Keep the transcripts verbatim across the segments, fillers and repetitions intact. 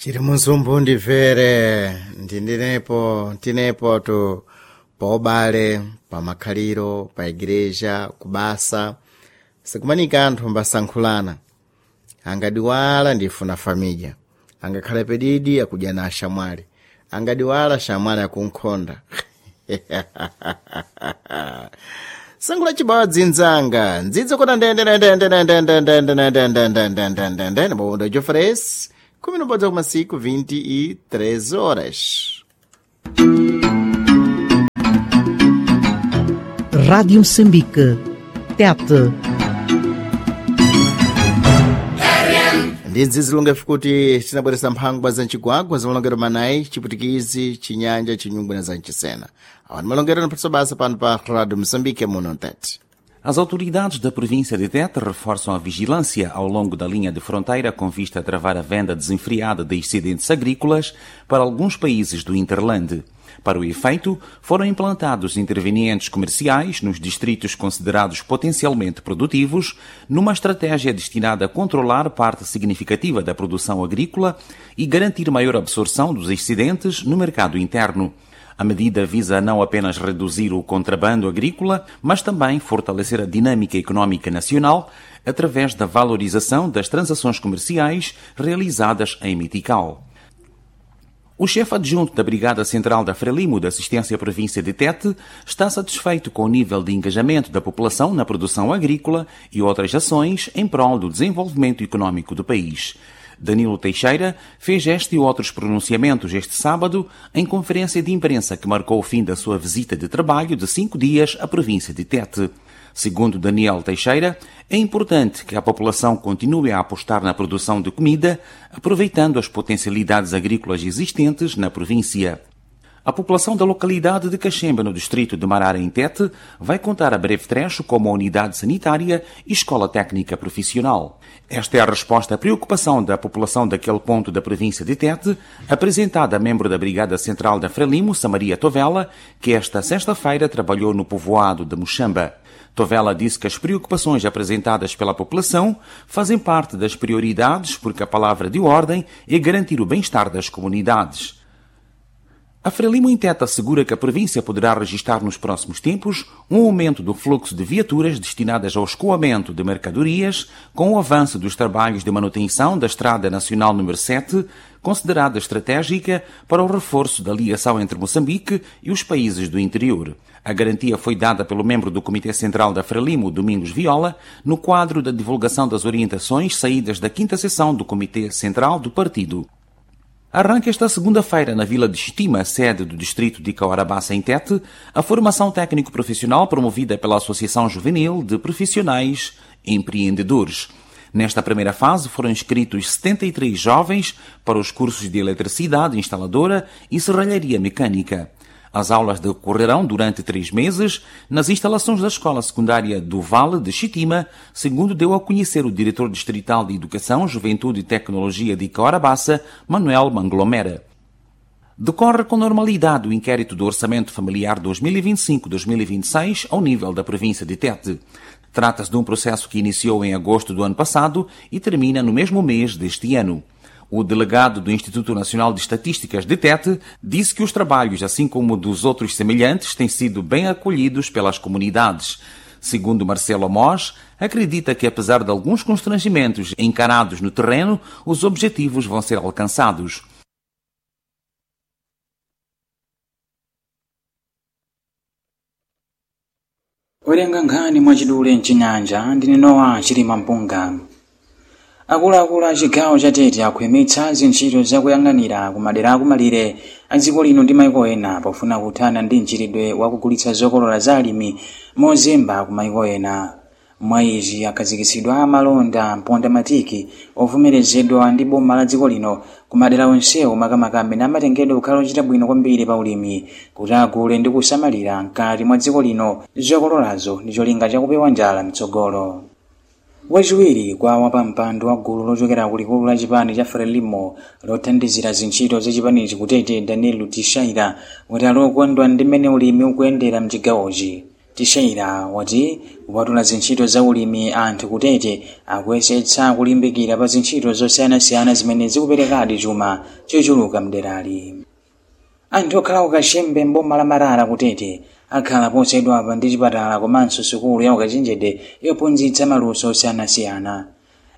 Chiri munsumbu ndimvere ndindinepo tinepo tu paubale pamakhaliro pa igreja kubasa sikumanika anthu mbasankhulana angadiwala ndifuna familya angakhale pedidi akudya na axamwali angadiwala xamwali akunkhonda sangula chibawa dzinzanga ndzidzo kota ndendendendendendendendendendendendendendende bondo jofres kumi nobodza kumasiku vinte e três horas. Rádio Moçambique. Tete. Ndi ndzizilunga kuti tinabweresa mphangwa za mcigwagwa za malongero manayi, chiputikizi, chinyanja, chinyungwe na za mchisena. Awa ni malongero anaphatisa basa pano pa Rádio Moçambique muno Tete. As autoridades da província de Tete reforçam a vigilância ao longo da linha de fronteira com vista a travar a venda desenfreada de excedentes agrícolas para alguns países do hinterland. Para o efeito, foram implantados intervenientes comerciais nos distritos considerados potencialmente produtivos, numa estratégia destinada a controlar parte significativa da produção agrícola e garantir maior absorção dos excedentes no mercado interno. A medida visa não apenas reduzir o contrabando agrícola, mas também fortalecer a dinâmica econômica nacional através da valorização das transações comerciais realizadas em Metical. O chefe adjunto da Brigada Central da Frelimo da Assistência à Província de Tete está satisfeito com o nível de engajamento da população na produção agrícola e outras ações em prol do desenvolvimento econômico do país. Danilo Teixeira fez este e outros pronunciamentos este sábado em conferência de imprensa que marcou o fim da sua visita de trabalho de cinco dias à província de Tete. Segundo Daniel Teixeira, é importante que a população continue a apostar na produção de comida, aproveitando as potencialidades agrícolas existentes na província. A população da localidade de Cachemba, no distrito de Marara, em Tete, vai contar a breve trecho com uma unidade sanitária e escola técnica profissional. Esta é a resposta à preocupação da população daquele ponto da província de Tete, apresentada a membro da Brigada Central da Frelimo, Samaria Tovela, que esta sexta-feira trabalhou no povoado de Muxamba. Tovela disse que as preocupações apresentadas pela população fazem parte das prioridades porque a palavra de ordem é garantir o bem-estar das comunidades. A Frelimo em Tete assegura que a província poderá registrar nos próximos tempos um aumento do fluxo de viaturas destinadas ao escoamento de mercadorias com o avanço dos trabalhos de manutenção da Estrada Nacional número sete, considerada estratégica para o reforço da ligação entre Moçambique e os países do interior. A garantia foi dada pelo membro do Comitê Central da Frelimo, Domingos Viola, no quadro da divulgação das orientações saídas da quinta sessão do Comitê Central do Partido. Arranca esta segunda-feira na Vila de Chitima, sede do distrito de Cahora Bassa, em Tete, a formação técnico-profissional promovida pela Associação Juvenil de Profissionais Empreendedores. Nesta primeira fase foram inscritos setenta e três jovens para os cursos de eletricidade instaladora e serralharia mecânica. As aulas decorrerão durante três meses nas instalações da Escola Secundária do Vale de Chitima, segundo deu a conhecer o diretor distrital de Educação, Juventude e Tecnologia de Cahora Bassa, Manuel Manglomera. Decorre com normalidade o inquérito do Orçamento Familiar dois mil e vinte e cinco-dois mil e vinte e seis ao nível da província de Tete. Trata-se de um processo que iniciou em agosto do ano passado e termina no mesmo mês deste ano. O delegado do Instituto Nacional de Estatísticas de Tete disse que os trabalhos, assim como dos outros semelhantes, têm sido bem acolhidos pelas comunidades. Segundo Marcelo Amós, acredita que, apesar de alguns constrangimentos encarados no terreno, os objetivos vão ser alcançados. Werenga nkhani mwachidule mchinyanja ndine Nowa Chilima Mpunga. Akuluakulu a chigawo cha Tete akhwimitsa zintchito zakuyang'anira ku madera akumalire a dziko lino ndi maiko ena pofuna kuthana ndi mchitidwe wakugulitsa zokolola za alimi mozemba ku maiko ena. Mwa izi, akhazikitsidwa amalonda mpondamatiki ovomerezedwa ndi boma la dziko lino ku madera onsewo, makamaka amene amatengedwa kukhala ochita bwino kwambiri pa ulimi, kuti agule ndi kusamalira mkati mwa dziko lino zokololazo ndi cholinga chakupewa njala mtsogolo. Wachiwiri kwa wapampando wa gulu lochokera kulikulu la chipani cha Frelimo lothandizira zintchito za chipanichi kutete, Daniel Tishaira, kuti ali okondwa ndi mmene ulimi ukuyendera mchigawochi. Teixeira wati kupatula zintchito za ulimi, anthu kutete akuyesetsa kulimbikira pa zintchito zosiyanasiyana zimene zikuperekadi chuma chochuluka mderali. Anthu okhala kukachembe mboma la Marara kutete akhala posachedwapa ndi chipatala komanso sukulu ya ukachenjede yophunzitsa maluso osiyanasiyana.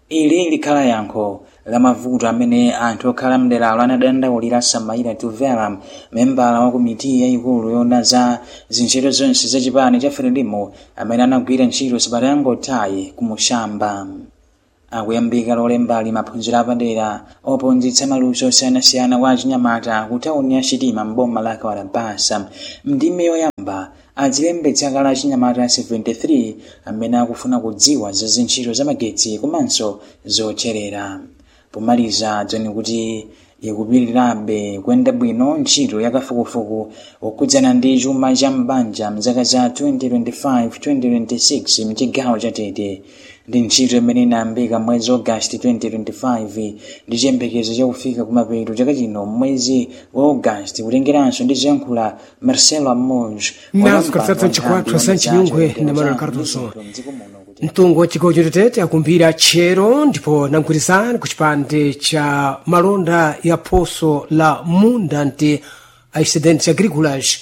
Ili likhala yankho la mavuto amene anthu okhala mderalo anadandaulira Samaira Tuvera, membala wa komiti yayikulu yoona za zintchito zonse za chipani cha Frelimo, amene anagwira ntchito sabata yangothayi kumushamba. Akuyambika lolembali maphunziro apadera ophunzitsa maluso osiyanasiyana kwa achinyamata ku tawuni ya Chitima mboma la Kawarabasa. Mndime yoyamba adzilembetsa kale achinyamata makumi asanu ndi atatu amene akufuna kudziwa za zintchito za magetsi komanso zocherera. Pomaliza, dzoni kuti ikupirirabe kuyenda bwino ntchito ya kafukufuku okhudzana ndi chuma cha m'banja mzaka za zikwi ziwiri makumi awiri makumi awiri ndi isanu mchigawo cha Tete. Ndi ntchito imene inayambika mwezi Ogasiti zikwi ziwiri makumi awiri makumi awiri ndi chiyembekezo chakufika kumapeto chaka chino mwezi wa Ogasiti, kutengeranso ndi zoyankhula Marcelo Amoj. Nazo katsatsa mchikwathu sa mchinyungwe na Manuel Cardoso. Mtungu wa chigawo chatete akumbira tchero ndipo namgwirizana ku chipande cha malonda ya phoso la munda nti excedentes agricolas,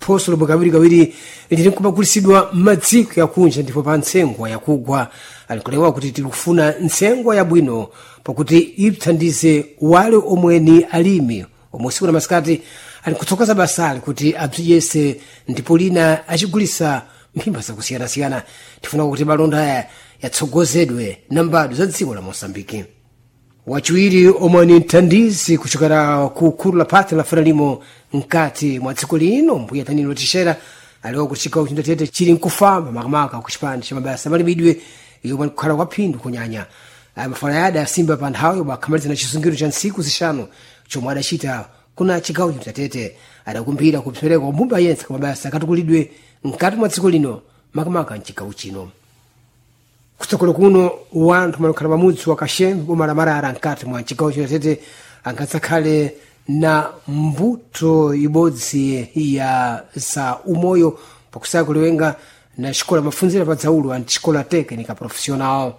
phoso lomwe kawirikawiri lili nkumagulisidwa m'madziko yakunja ndipo pa ntsengwa yakugwa. Alikulewa kuti tikufuna ntsengwa yabwino pakuti ithandize wale omwe ni alimi omwe usiku na masikati ali kutsokoza basali kuti abziyese ndipo lina achigulisa mphimba zakusiyanasiyana. Tifuna kuti malonda aya yatsogozedwe na mbadwa za dziko la Mosambiki. Wachiwiri omwe ni mthandizi kuchokera ku khulu la phati la Frelimo mkati mwa dziko lino, mbuya Danilo Tixera, aliwa kuti chigawo chindatete chili nkufamba makamaka ku chipande cha mabasa amalimidwe yomwe nkukhala kwa phindu kunyanya. Aya mafala yada asimba pa nthawi yomwe akhamaliza na chisungiro cha ntsiku zishanu chomwe adachita kuna chigawo chindatete. Adakumbira kupsereka kwa mbumba yense kwa mabasa akatukulidwe mkati mwa dziko lino, makamaka mchigawo chino. Kutsogolo kuno wanthu malukhala pamudzi wa Kashembe boma la Marara mkati mwa chigawo chinatete angadzakhale na mbuto ibodzi ya za umoyo pakusaya kuliwenga na xikola mafunzira pa dzaulo anti xikola técnica profissional.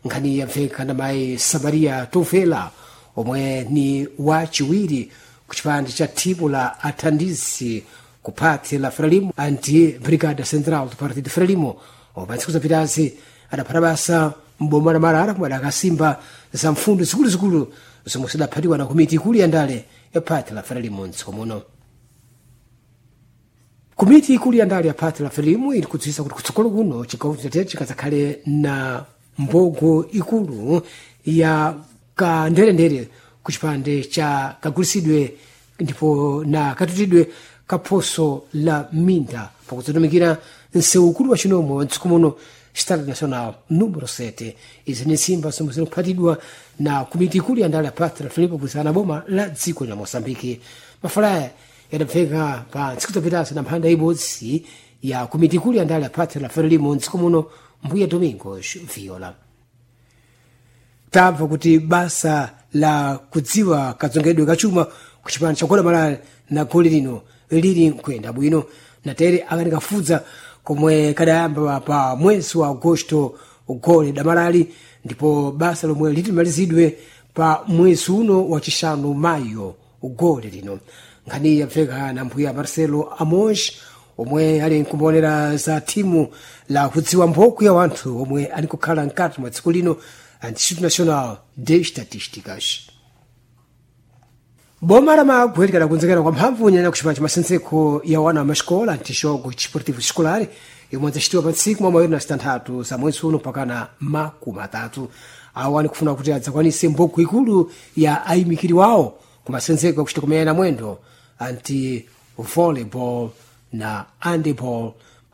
Nkhani yamveka na mayi Samaria Tovela omwe ni wachiwiri ku chipande cha thimu la athandizi ku phati la Frelimo anti Brigada Central do Partido Frelimo, omwe pa ntsiku zapitazi adaphata basa mboma la Marara komwe adakasimba za mfundo zikuluzikulu zomwe zidaphatiwa na komiti ikulu ya ndale ya phati la Frelimo mdziko muno. Komiti ikulu ya ndale ya phati la Frelimo ili kudziwisa kuti kutsogolo kuno chigawo chatete chikadzakhale na mbogo ikulu ya kanderendere ku chipande cha kagulisidwe ndipo na katutidwe kaphoso la minda pakudzatumikira msewu ukulu wa chinomwe wa mdziko muno, Estrada Nacional número sete. Izi ni nsimba zomwe zikuphatidwa na komiti ikulu ya ndale ya phati la Frelimo kugwirizana na boma la dziko la Moçambike. Mafalaya yadapfeka pa ntsiku zapitazo na mphanda ibodzi ya komiti ikulu ya ndale ya phati la Frelimo mdziko muno, mbuya Domingos Viola. Tamva kuti basa la kudziwa kadzongedwe kachuma ku chipani cha Guatemala na goli lino lili nkuyenda bwino natere akanikafudza komwe kadayamba pa mwezi wa Agosto gole damalali, ndipo basa lomwe litimalizidwe pa mwezi uno wachisanu, Mayo gole lino. Nkhani yamveka na mbuya Marcelo Amos omwe ali nkumboonera za thimu la kudziwa mphoko ya wanthu omwe ali kukhala mkati mwa dziko lino, Instituto Nacional de Estatísticas. Boma la Magwe likadakonzekera kwa mphamvu nyanya kuchipani cha masenzeko ya wana wa maxikola antixogo chisportivo escolar yomwe adzachitiwa pa ntsiku mwa mayori na zitanthatu za mwezi uno mpakana makumi atatu. Awo anikufuna kuti adzakwanise mbogo ikulu ya ayimikiri wawo ku masenzeko akuchita kumeyana mwendo anti volleyball na handball,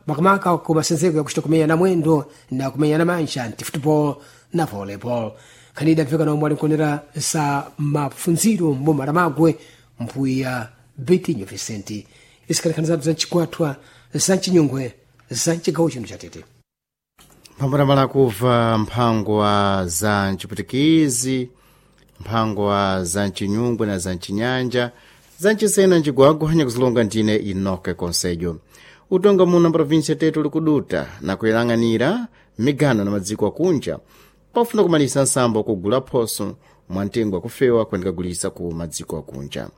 makamaka ku masenzeko yakuchita kumenya mwendo na kumenya manja anti football na volleyball. Nkhani idamveka na omwe alinkuonera za mafunziro mboma la Magwe, mbuya Betinho Vicente. Isikalikhani zathu za mchikwatwa za mchinyungwe za mchigawo chino cha Tete. Mphambanambala kubva mphangwa za mchiputikizi, mphangwa za mchinyungwe na za mchinyanja, za mchisena mchigwagwa nyakuzilonga ndine Inoke Konsejo. Utonga muno provinsia Tete uli kuduta na kuyang'anira migano na madziko akunja pofuna kumalisa nsambo wakugula phoso mwa mtengo wakufewa kuyendekagulisa ku madziko akunja.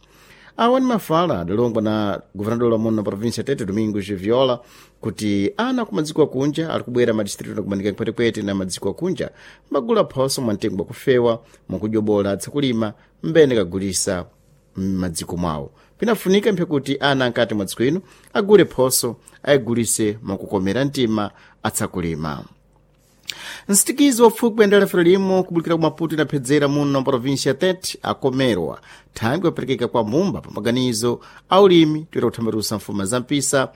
Awa ni mafala adalongwa na guvernador wa muno provinsia Tete, Domingos Viola, kuti ana ku madziko akunja ali kubwera madistritu nakumanika mpwetekwete na madziko akunja mbagula phoso mwa mtengo wakufewa mwakujobola atsakulima mbene kagulisa m'madziko mwawo. Pinafunika mphe kuti ana ankati mwa dziko ino agule phoso ayigulise mwakukomera mtima atsakulima. Nsitikizi wafupi kuyendera Frelimo kubulikira ku Maputo inaphedzera muno provinsia ya Tete akomerwa thangwi aperekeka kwa mbumba pa maganizo a ulimi toyera kuthambalusa mfuma za mpisa.